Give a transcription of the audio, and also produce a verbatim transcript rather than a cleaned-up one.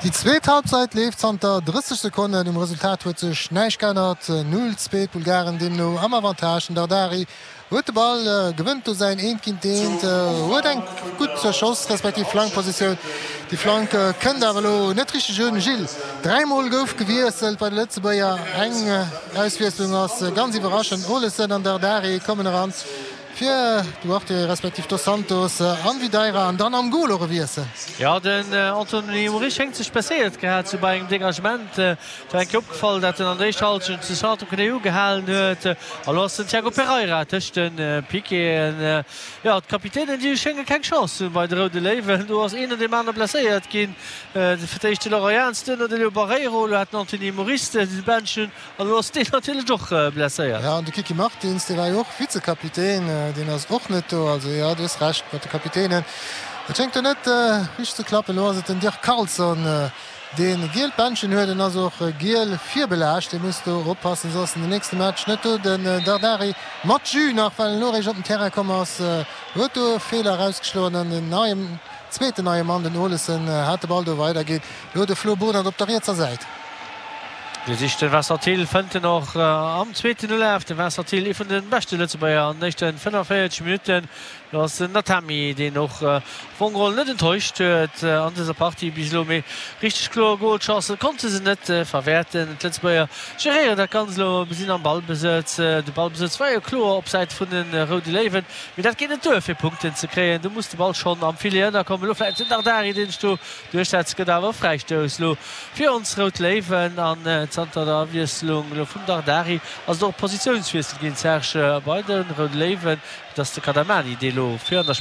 Déi zweet Halbzeit leeft zanter drësseg Sekonnen. Um Resultat huet sech näischt geännert, null, zwee, d'Bulgaren deemno am Avantage. Den Dardari huet de Ball, gewënnt do säin Eent géint Eent, huet eng gutt Schoss respektiv Flankpositioun. Déi Flank kënnt awer elo net richteg un. Gilles, dräi Mol gouf gewiesselt bei de Lëtzebuerger. Eng Auswiesslung ass ganz iwwerraschend, Olesen an Dardari kommen eran. Fir Duarte respektiv Dos Santos an Videira an dann am Gol och e Wiessel. Jo, den Anthony Moris schéngt sech blesséiert gehat ze hu bei engem Degagement. Et war eng Kéier opgefall, dat en an der éischter Hallschent zu Santo Knéi ugehalen huet. A lo ass den Tiago Pereira tëscht de Piqueten. Jo, d'Kapitänen, déi schénge keng Chance ze hunn bei de Roude Léiwen. Do ass een no deem aner blesséiert ginn. Fir d'éischt de Laurent Jans, duerno de Leo Barreiro, elo hat den Anthony Moris de Bändchen. An elo ass deen natierlech och blesséiert. Jo, an de Kiki Martins, dee war jo och Vizekapitän, deen ass och net do. Also jo, du hues Recht mat de Kapitänen. Et schéngt do net richteg ze klappen. Elo ass et den Dirk Carlson, dee gielt Bändchen huet. En ass och giel virbelaascht. Dee muss do oppassen, soss ass en den nächste Match net do. Den Dardari mat Jus nach, well en elo eréischt op den Terrain komm ass, huet do e Feeler erausgeschloen an den neien, zweeten neie Mann, den Olesen, hat de Ball do weiderginn. Elo de Flo Bohnert op der rietser Säit. Dee sicht de Vincent Thill, fënnt en och am zweeten Ulaf. De Vincent Thill, ee vun de beschte Lëtzebuerger an den éischte fënnefenvéierzeg Minutten. Do ass den Natami, deen och am Fong geholl net enttäuscht huet an dëser Partie bis elo. Mee richteg kloer Golchancë konnte se net verwäerten. D'Lëtzebuerger geréieren dat Ganzt elo, sinn am Ballbesëtz. De Ballbesëtz war jo kloer op Säit vun de Roude Léiwen, mee dat geet net duer fir Punkten ze kréien. Do muss de Ball schonn am Filet ënnerkommen. Elo vläicht den Dardari, deen sech do duerchsetzt, gëtt awer e Fräistouss elo fir ons Rout Léiwen an zanter der Awiesslung elo vum Dardari ass et och e Positiounswiessel ginn, Serge, bei de Roude Léiwen. Et ass de Kadamani, dee elo vir an der